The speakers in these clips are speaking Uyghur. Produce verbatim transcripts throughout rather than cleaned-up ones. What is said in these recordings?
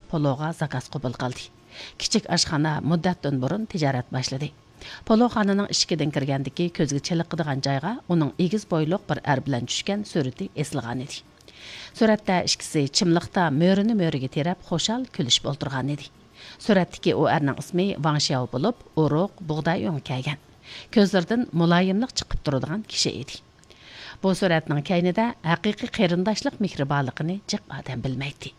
پولوغا زاكاز قوبۇل قىلدى. كىچىك ئاشخانا مۇددەتتىن بۇرۇن تىجارەت باشلىدى. پولوخانىنىڭ ئىشىكىدىن كىرگەندىكى كۆزگە چېلىقىدىغان جايغا ئۇنىڭ ئېگىز بويلۇق بىر ئەر بىلەن چۈشكەن سۈرىتى ئېسىلغانىدى. سۈرەتتە ئىككىسى چىملىقتا مۈرىنى مۈرىگە تىرەپ خۇشال كۈلۈشۈپ ئولتۇرغانىدى. سۈرەتتىكى ئۇ ئەرنىڭ ئىسمى ۋاڭ شياۋ بولۇپ، ئورۇق، بۇغداي ئۆڭى كەلگەن، كۆزلىرىدىن مۇلايىملىق چىقىپ تۇرىدىغان كىشى ئىدى. بۇ سۈرەتنىڭ كەينىدە ھەقىقىي قېرىنداشلىق مېھرى بارلىقىنى جىق ئادەم بىلمەيتتى.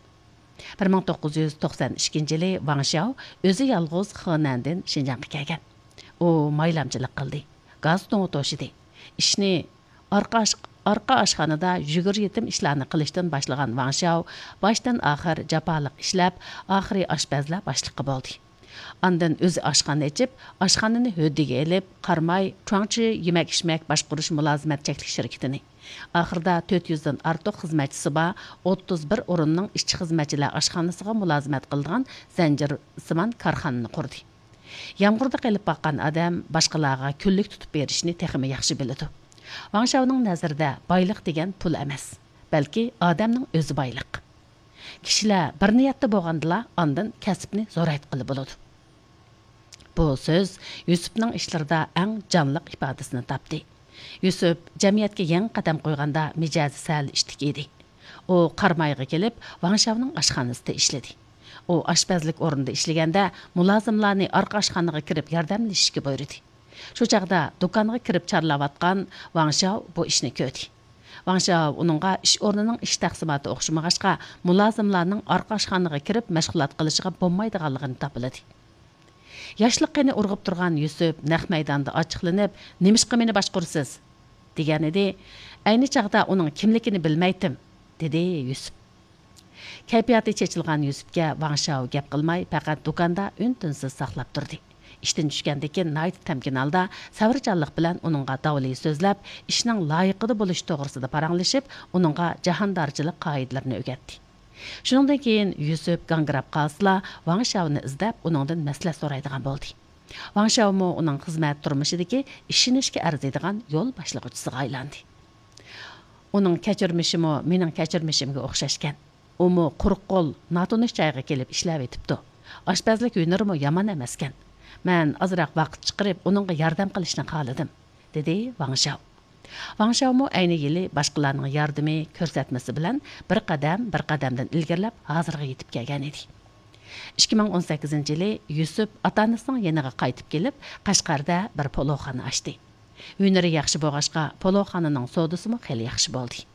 بىر مىڭ توققۇز يۈز توقسان ئىككىنچى يىلى ۋاڭ شياۋ ئۆزى يالغۇز خېنەندىن شىنجاڭغا كەلگەن. ئۇ مايلامچىلىق قىلدى، گاز تۇڭى توشىدى. ئىشنى ئارقا ئاش-، ئارقا ئاشخانىدا يۈگۈر يېتىم ئىشلارنى قىلىشتىن باشلىغان ۋاڭ شياۋ باشتىن ئاخىر جاپالىق ئىشلەپ، ئاخىرى ئاشپەزلەر باشلىقى بولدى. ئاندىن ئۆزى ئاشخانا ئېچىپ، ئاشخانىنى ھۆددىگە ئېلىپ، قاراماي چۇاڭچى يېمەك-ئىچمەك باشقۇرۇش مۇلازىمەت چەكلىك شىركىتىنى، ئاخىرىدا تۆت يۈزدىن ئارتۇق خىزمەتچىسى بار ئوتتۇز بىر ئورۇننىڭ ئىشچى-خىزمەتچىلەر ئاشخانىسىغا مۇلازىمەت قىلىدىغان زەنجىرسىمان كارخانىنى قۇردى. يامغۇردا قېلىپ باققان ئادەم باشقىلارغا كۈنلۈك تۇتۇپ بېرىشنى تېخىمۇ ياخشى بىلىدۇ. ۋاڭ شياۋنىڭ نەزىرىدە بايلىق دېگەن پۇل ئەمەس، بەلكى ئادەمنىڭ ئۆزى بايلىق. كىشىلەر بىر نىيەتتە بولغاندىلا، ئاندىن كەسىپنى زورايتقىلى بولىدۇ. بۇ سۆز يۈسۈپنىڭ ئىشلىرىدا ئەڭ جانلىق ئىپادىسىنى تاپتى. يۈسۈپ جەمئىيەتكە يېڭى قەدەم قويغاندا مىجەزى سەل ئىتتىك ئىدى. ئۇ قارامايغا كېلىپ، ۋاڭ شياۋنىڭ ئاشخانىسىدا ئىشلىدى. ئۇ ئاشپەزلىك ئورنىدا ئىشلىگەندە، مۇلازىملارنى ئارقا ئاشخانىغا كىرىپ ياردەملىشىشكە بۇيرۇدى. شۇ چاغدا دۇكانغا كىرىپ چارلاۋاتقان ۋاڭ شياۋ بۇ ئىشنى كۆردى. ۋاڭ شياۋ ئۇنىڭغا ئىش ئورنىنىڭ ئىش تەقسىماتى ئوخشىمىغاچقا، مۇلازىملارنىڭ ئارقا ئاشخانىغا كىرىپ مەشغۇلات قىلىشىغا بولمايدىغانلىقىنى تاپىلىدى. ياشلىق قېنى ئۇرغۇپ تۇرغان يۈسۈپ نەق مەيداندا ئاچچىقلىنىپ، «نېمىشقا مېنى باشقۇرىسىز؟» دېگەنىدى. ئەينى چاغدا ئۇنىڭ كىملىكىنى بىلمەيتتىم، دېدى يۈسۈپ. كەيپىياتى چېچىلغان يۈسۈپكە ۋاڭ شياۋ گەپ قىلماي، پەقەت دۇكاندا ئۈن-تىنسىز ساقلاپ تۇردى. ئىشتىن چۈشكەندىن كېيىن ناھايىتى تەمكىنھالدا سەۋرچانلىق بىلەن ئۇنىڭغا داۋلى سۆزلەپ، ئىشنىڭ لايىقىدا بولۇشى توغرىسىدا پاراڭلىشىپ، ئۇنىڭغا جاھاندارچىلىق قائىدىلىرىنى ئۆگەتتى. شۇنىڭدىن كېيىن يۈسۈپ گاڭگىراپ قالسىلا، ۋاڭ شياۋنى ئىزدەپ، ئۇنىڭدىن مەسلىھەت سورايدىغان بولدى. ۋاڭ شياۋمۇ ئۇنىڭ خىزمەت تۇرمۇشىدىكى ئىشىنىشكە ئەرزىيدىغان يول باشلىغۇچىسىغا ئايلاندى. ئۇنىڭ كەچۈرمىشىمۇ مېنىڭ كەچۈرمىشىمگە ئوخشاشكەن. ئۇمۇ قۇرۇق قول، ناتونۇش جايغا كېلىپ ئىشلەۋېتىپتۇ. ئاشپەزلىك ھۈنىرىمۇ يامان ئەمەسكەن. مەن ئازراق ۋاقىت چىقىرىپ، ئۇنىڭغا ياردەم قىلىشنى خالىدىم، دېدى ۋاڭ شياۋ. ۋاڭ شياۋمۇ ئەينى يىلى باشقىلارنىڭ ياردىمى، كۆرسەتمىسى بىلەن بىر قەدەم، بىر قەدەمدىن ئىلگىرىلەپ، ھازىرغا يېتىپ كەلگەن ئىدى. ئىككى مىڭ ئون سەككىزىنچى يىلى يۈسۈپ ئاتا-ئانىسىنىڭ يېنىغا قايتىپ كېلىپ، قەشقەردە بىر پولۇخانا ئاچتى. ھۈنىرى ياخشى بولغاچقا، پولۇخانىنىڭ سودىسىمۇ خېلى ياخشى بولدى.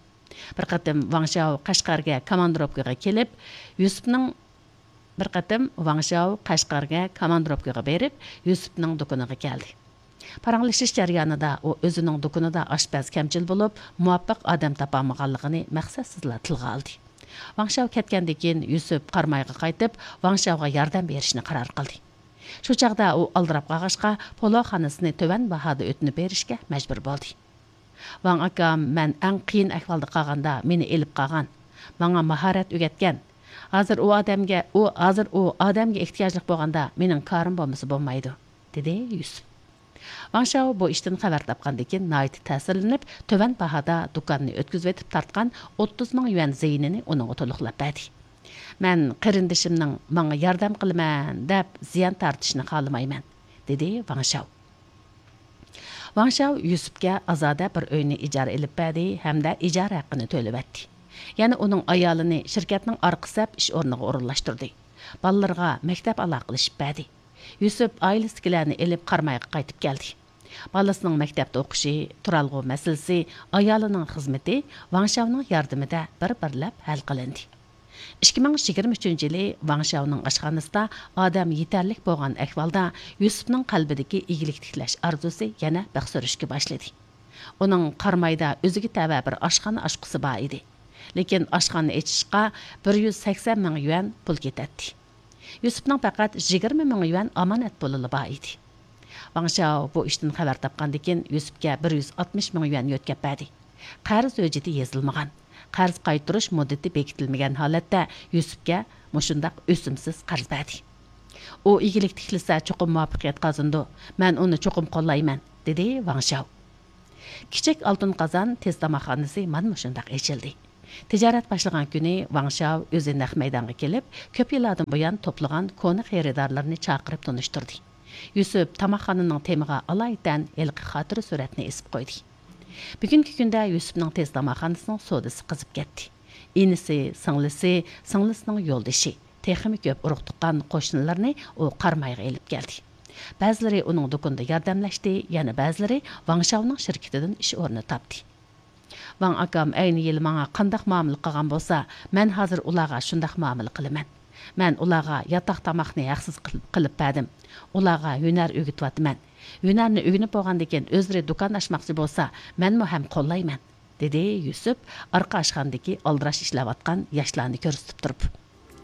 بىر قېتىم ۋاڭ شياۋ قەشقەرگە كاماندىروپكىغا كېلىپ، يۈسۈپنىڭ، بىر قېتىم ۋاڭ شياۋ قەشقەرگە كاماندىروپكىغا بېرىپ، يۈسۈپنىڭ دۇكىنىغا كەلدى. پاراڭلىشىش جەريانىدا ئۇ ئۆزىنىڭ دۇكىنىدا ئاشپەز كەمچىل بولۇپ، مۇۋاپىق ئادەم تاپالمىغانلىقىنى مەقسەتسىزلا تىلغا ئالدى. ۋاڭ شياۋ كەتكەندىن كېيىن، يۈسۈپ قارامايغا قايتىپ، ۋاڭ شياۋغا ياردەم بېرىشنى قارار قىلدى. شۇ چاغدا ئۇ ئالدىراپ قالغاچقا، پولۇخانىسىنى تۆۋەن باھادا ئۆتۈنۈپ بېرىشكە مەجبۇر بولدى. ۋاڭ ئاكام مەن ئەڭ قىيىن ئەھۋالدا قالغاندا مېنى ئېلىپ قالغان، ماڭا ماھارەت ئۆگەتكەن. ھازىر ئۇ ئادەمگە، ئۇ، ھازىر ئۇ ئادەمگە ئېھتىياجلىق بولغاندا مېنىڭ كارىم بولمىسا بولمايدۇ، دېدى يۈسۈپ. ۋاڭ شياۋ بۇ ئىشتىن خەۋەر تاپقاندىن كېيىن ناھايىتى تەسىرلىنىپ، تۆۋەن باھادا دۇكاننى ئۆتكۈزۈۋېتىپ تارتقان ئوتتۇز مىڭ يۈەن زىيىنىنى ئۇنىڭغا تولۇقلاپ بەردى. مەن قېرىندىشىمنىڭ ماڭا ياردەم قىلىمەن دەپ زىيان تارتىشىنى خالىمايمەن، دېدى ۋاڭ شياۋ. ۋاڭ شياۋ يۈسۈپكە ئازادە بىر ئۆينى ئىجارە ئېلىپ بەردى ھەمدە ئىجارە ھەققىنى تۆلىۋەتتى. يەنە ئۇنىڭ ئايالىنى شىركەتنىڭ ئارقا سەپ ئىش ئورنىغا ئورۇنلاشتۇردى. بالىلىرىغا مەكتەپ ئالاقىلىشىپ بەردى. يۈسۈپ ئائىلىسىدىكىلەرنى ئېلىپ قارامايغا قايتىپ كەلدى. بالىسىنىڭ مەكتەپتە ئوقۇشى، تۇرالغۇ مەسىلىسى، ئايالىنىڭ خىزمىتى ۋاڭ شياۋنىڭ ياردىمىدە بىر-بىرلەپ ھەل قىلىندى. ئىككى مىڭ يىگىرمە ئۈچىنچى يىلى ۋاڭ شياۋنىڭ ئاشخانىسىدا ئادەم يېتەرلىك بولغان ئەھۋالدا يۈسۈپنىڭ قەلبىدىكى ئىگىلىك تىكلەش ئارزۇسى يەنە بىخ سۈرۈشكە باشلىدى. ئۇنىڭ قارامايدا ئۆزىگە تەۋە بىر ئاشخانا ئاچقۇسى بار ئىدى. لېكىن ئاشخانا ئېچىشقا بىر يۈز سەكسەن مىڭ يۈەن پۇل كېتەتتى. يۈسۈپنىڭ پەقەت يىگىرمە مىڭ يۈەن ئامانەت پۇلىلا بار ئىدى. ۋاڭ شياۋ بۇ ئىشتىن خەۋەر تاپقاندىن كېيىن، يۈسۈپكە بىر يۈز ئاتمىش مىڭ يۈەن يۆتكەپ بەردى. قەرز ھۆججىتى يېزىلمىغان، قەرز قايتۇرۇش مۇددىتى بېكىتىلمىگەن ھالەتتە يۈسۈپكە مۇشۇنداق ئۆسۈمسىز قەرز بەردى. «ئۇ ئىگىلىك تىكلىسە، چوقۇم مۇۋەپپەقىيەت قازىنىدۇ. مەن ئۇنى چوقۇم قوللايمەن»، دېدى ۋاڭ شياۋ. كىچىك ئالتۇن قازان تېز تاماقخانىسى مانا مۇشۇنداق ئېچىلدى. تىجارەت باشلىغان كۈنى ۋاڭ شاۋ ئۆزى نەق مەيدانغا كېلىپ، كۆپ يىللاردىن بۇيان توپلىغان كونا خېرىدارلىرىنى چاقىرىپ تونۇشتۇردى. يۈسۈپ تاماقخانىنىڭ تېمىغا ئالايىتەن ھېلىقى خاتىرە سۈرەتنى ئېسىپ قويدى. بۈگۈنكى كۈندە يۈسۈپنىڭ تېز تاماقخانىسىنىڭ سودىسى قىزىپ كەتتى. ئىنىسى، سىڭلىسى، سىڭلىسىنىڭ يولدىشى، تېخىمۇ كۆپ ئۇرۇق-تۇغقان، قوشنىلىرىنى ئۇ قارامايغا ئېلىپ كەلدى. بەزىلىرى ئۇنىڭ دۇكىنىدا ياردەملەشتى، يەنە بەزىلىرى ۋاڭ شاۋنىڭ شىركىتىدىن ئىش ئورنى تاپتى. ۋاڭ ئاكام ئەينى يىلى ماڭا قانداق مۇئامىلە قىلغان بولسا، مەن ھازىر ئۇلارغا شۇنداق مۇئامىلە قىلىمەن. مەن ئۇلارغا ياتاق تاماقنى ھەقسىز قىل-، قىلىپ بەردىم. ئۇلارغا ھۈنەر ئۆگىتىۋاتىمەن. ھۈنەرنى ئۆگىنىپ بولغاندىن كېيىن ئۆزلىرى دۇكان ئاچماقچى بولسا، مەنمۇ ھەم قوللايمەن، دېدى يۈسۈپ ئارقا ئاشخانىدىكى ئالدىراش ئىشلەۋاتقان ياشلارنى كۆرسىتىپ تۇرۇپ.